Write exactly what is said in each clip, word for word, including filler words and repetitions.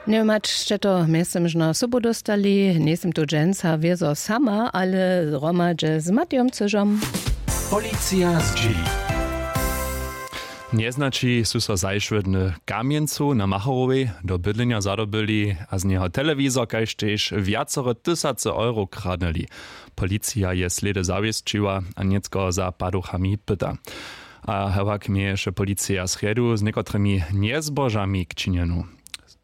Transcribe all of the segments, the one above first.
Njemać sće to mjeztym žno sobu dóstali, njejsym tu dźensa wězo sama, ale hromadźe z Matijom Cyžom. Policija zdźěli. Njeznaći su so zašłodny w Kamjencu na Macharowej do bydlenja zadobyli a z njeho telewizor kaž tež wjacore tysace euro kradnyli. Policija je slědy zawěsćiła a nětko za paduchami pyta. A hewak měješe policija srjedu z někotrymi njezbožami k činjenu.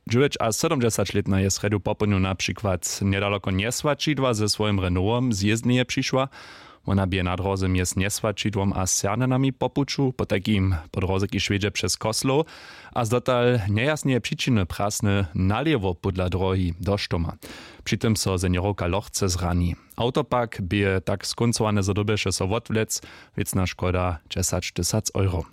Dźewjećasydomdźesaćlětna je srjedu popołdnju na přikład njedaloko njeswaćidła ze swojim renowom z jězdneje přišła. Wona bě na dróze mjez njeswaćidłom a sernjanami po puću potajkim po dróze kiž wjedźe přez koslow a z dotal njejasneje přičiny prasny nalěwo pódla dróhi do štoma. Při tym so seniorowka lochce zrani. Awto pak bě tak skóncowane zo dyrbješe so wotwlec. Wěcna škoda dźesaćtysac euro.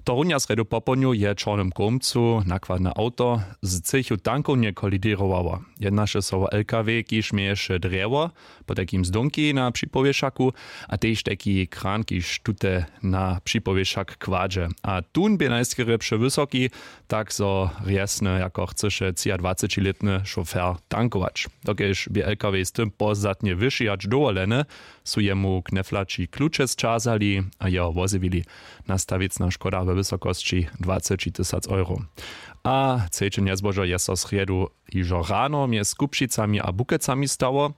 Tohorunja srjedu popołdnju je w čornym kołmcu nakładne awto z třěchu tankownje koliděrowało. Jednaše so wo lkw kiž měješe drjewo potajkim z dónki na připowěšaku a tež tajki kran kiž tute na připowěšak kładźe a tón bě najskerje přewysoki, tak zo rjesny jako chcyše třiadwacećilětny šofer tankować. Dokelž bě lkw z tym pozdatnje wyši hač dowoleny, su jemu kneflaći kluče sćazali a jeho wozjewili. Nasta wěcna škoda we wysokosći dwaceći tysac euro. A třeće njezbožo je so srjedu hižo rano mjez Kupšicami a Bukecami stało.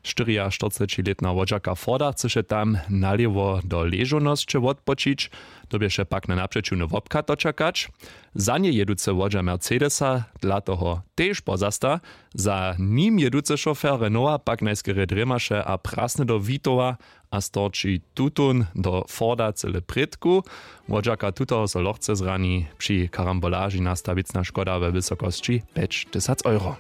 Štyriaštyrcećilětna wodźerka forda chcyše tam nalěwo do ležownosće wotpočić, dyrbješe pak na napřećiwny wobchad dočakać. Za njej jěducy wodźa mercedesa dla toho tež pozasta. Za nim jěducy šofer renowa pak najskerje drěmaše a prasny do witowa a storči tutón do forda cyle prědku. Wodźerka tutoho so lochce zrani. Při karambolaži nasta wěcna škoda we wysokosći pjećtysac euro.